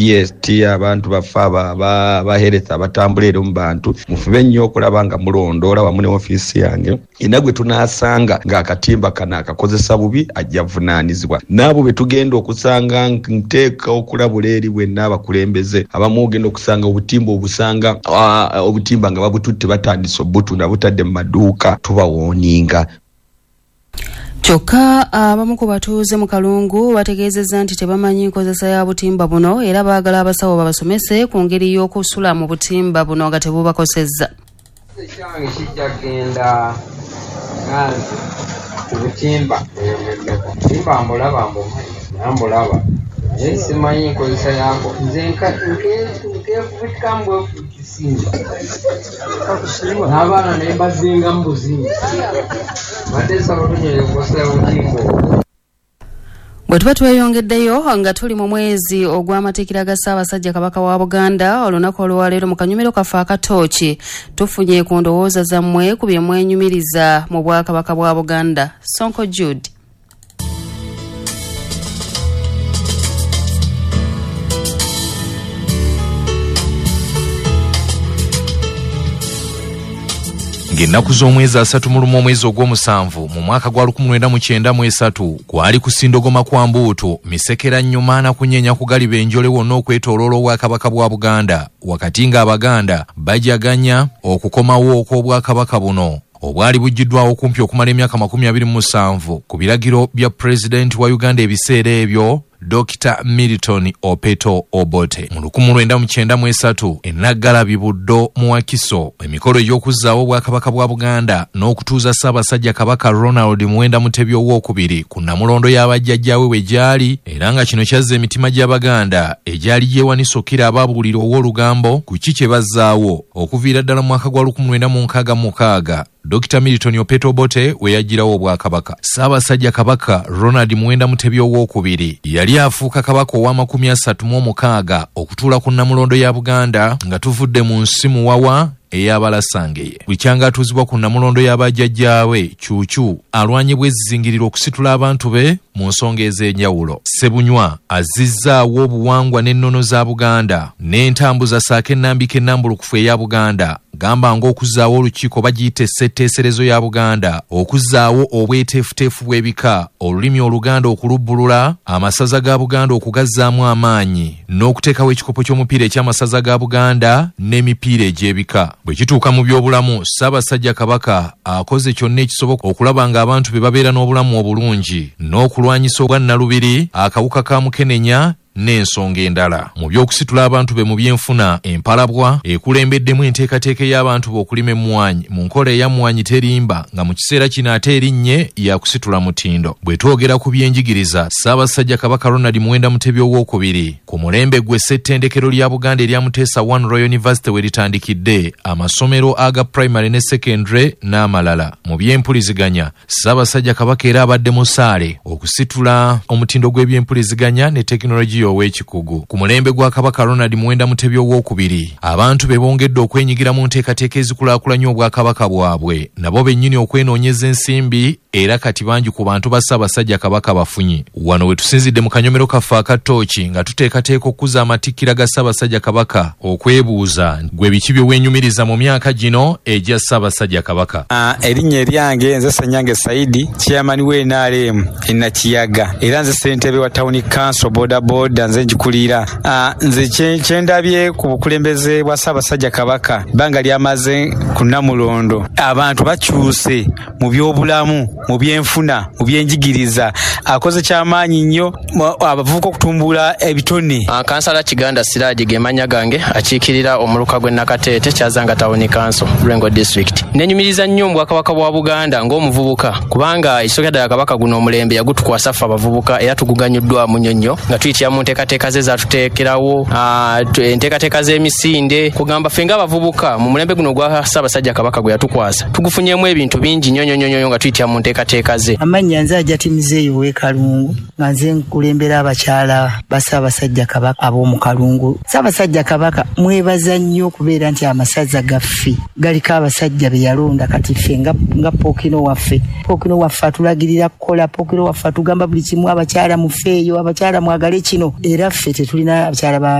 VST, abantu baffe aba health abatambula eri mu bantu, mufube nnyo okulaba nga mulondoola wamu ne ofiisi yange. Era gwe tunaasanga ng'akatimba kano akakozesa bubi ajja vunaanizibwa. N'abo be tugenda okusanga, nteeka okulabula eri bwenna abakulembeze abamu, ogenda okusanga obutimba obusanga obutimba nga babututte, batandise obutunda, butadde mu maduuka, tubawooninga. Kyokka abamu ku batuuze mu Kalungu bategeezezza nti tebamanyi nkozesa ya butimba buno, era baagala abasawo babasomese ku ngeri y'okusula mu butimba buno nga tebubakosezza. Ekyange kijja kgenda nga nze ku butimba bweyogeddeko. Butimba mbulaba, mbumanyi, nambulaba, naye simanyi nkozesa yako. Nze nkeefubitikamu bwefubikisimba n'abaana ne mbazingamu buzinga. Badde nsaba tunyere nkozesa ya butimba obwo. Bwe tuba tweyongeddeyo nga tuli mu mwezi ogw'amatikkira ga Ssaabasajja Kabaka wa Buganda, olunaku olwaleero mu kanyumiro kaffe akatooki tufunye ku ndowooza zammwe ku bye mwenyumiriza mu Bwakabaka bwa Buganda. Sonko Jude. Ng'ennaku z'omwezi 31 omwezi ogw'omusanvu mu mwaka gwa 1993 kwali kusindogoma kwa mbuutu, misekera nnyuma na kunyeenya kugaliba enjole wonna okwetooloola Obwakabaka bwa Buganda, wakati ng'Abaganda bajaganya okukomawo okw'Obwakabaka buno obwali buggiddwawo kumpi okumala emyaka 27 ku biragiro bya Pulezidenti wa Uganda ebiseera ebyo, Dr. Milton Opeto Obote. Mu 1993 enaggalabi Buddo mu Wakiso, emikolo egy'okuzzaawo Obwakabaka bwa Buganda n'okutuuza Ssaabasajja Kabaka Ronald Muwenda Mutebi Owookubiri ku nnamulondo y'abajjajjaawe we gyali, era nga kino kyazza emitima gy'Abaganda egyali gyewanise okukira ababuulira ow'olugambo ku ki kye bazzaawo okuviira ddala mu mwaka gwa 1966 Dr. Milton Opeto Obote we yaggyirawo Obwakabaka. Ssaabasajja Kabaka Ronald Muwenda Mutebi Owookubiri yali afuuka kabaka owa 36 okutuula ku nnamulondo ya Buganda nga tuvudde mu nsi muwawa ey'Abalasangeye. Bukyanga atuuzibwa ku nnamulondo y'abajjajjaawe, Kyukyu alwanye bwezizingirira okusitula abantu be mu nsonga ez'enjawulo. Ssebunywa azzizzaawo obuwangwa n'ennono za Buganda n'entambuza ssaako ennambika ennambulukufu eya Buganda, gamba ng'okuzzaawo olukiiko bagiyita essetteeserezo ya Buganda, okuzzaawo obweteefuteefu bw'ebika, olulimi Oluganda okulubbulula, amasaza ga Buganda okugazzaamu amaanyi, n'okuteekawo ekikopo ky'omupiira eky'amasaza ga Buganda n'emipiira egy'ebika. Bwe kituuka mu byobulamu, Ssaabasajja Kabaka akoze kyonna ekisoboka okulaba ng'abantu be babeera n'obulamu obulungi n'okulwanyisa obwannalubiri, akawuka ka mukenenya n'ensonga endala. Mu by'okusitula abantu be mu byenfuna, empalabwa ekulembeddemu enteekateeka ey'abantu be okulima emmwanyi mu nkola eya Mmwanyi Terimba, nga mu kiseera kino ate erinnye yakusitula mutindo. Bwe twogera ku byenjigiriza, Ssaabasajja Kabaka Ronald Muwenda Mutebi Owookubiri ku mulembe gwe ssettendekero lya Buganda erya Muteesa One Royal University we litandikidde amasomero aga primary ne secondary n'amalala. Mu byempuliziganya, Ssaabasajja Kabaka era abadde musaale okusitula omutindo gw'ebyempuliziganya ne tekinologiya ow'ekikugu. Ku mulembe gwa Kabaka Ronald Muwenda Mutebi Owookubiri, abantu be bongedde okwenyigira mu nteekateeka ezikulaakulanya obwakabaka bwabwe, nabo bennyini okwenoonyeza ensimbi, era kati bangi ku bantu ba Ssaabasajja Kabaka bafunye. Wano we tusinzidde mu kanyomero kaffe akatooki nga tuteekateeka okukuza amatikkira ga Ssaabasajja Kabaka okwebuuza gwe biki bye weenyumiriza mu myaka gino egya Ssaabasajja Kabaka. Erinnya eryange nze Ssenyange Saidi, chairman we NRM e Nakiyaga, era nze ssentebe wa town council boda boda, nze ngikulira. Nze kyendabye ku bukulembeze bwa Ssaabasajja Kabaka, ebbanga lyamaze ku Nnamulondo, abantu bakyuse mu byobulamu, mu byenfuna, mu byenjigiriza. Akoze kyamaanyi nnyo abavubuka okutumbula ebitone. Kansala Kiganda Siraji ge mannya gange, akiikirira omuluka gw'e Nakateete, Kyazanga Town Council, Lwengo District. Nenyumiriza nnyo mu Bwakabaka bwa Buganda ng'omuvubuka, kubanga ekisookera ddala Kabaka guno omulembe yagutukwasa ffe abavubuka, era tuguganyuddwamu nnyo nnyo nga tuyitira mu nteekateeka ze zatuteekerawo, enteekateeka z'emisinde. Kugamba ffe ng'abavubuka mu mulembe guno ogwa Ssaabasajja Kabaka gwe yatukwasa, tugufunyemu ebintu bingi nnyo nnyo nnyo nnyo nga tuyitira mu nteekateeka ze. Amannya nze Ajati Muzeeyi ow'e Kalungu, nga nze nkulembera abakyala ba Ssaabasajja Kabaka ab'omu Kalungu. Ssaabasajja Kabaka mwebaza nnyo okubeera nti amasaza gaffe galiko abasajja be yalonda. Kati ffe nga Pookino waffe, Pookino waffe atulagirira kukola, Pookino waffe atugamba buli kimu, abakyala mufeeyo, abakyala mwagale kino, era ffe tetulina abakyala ba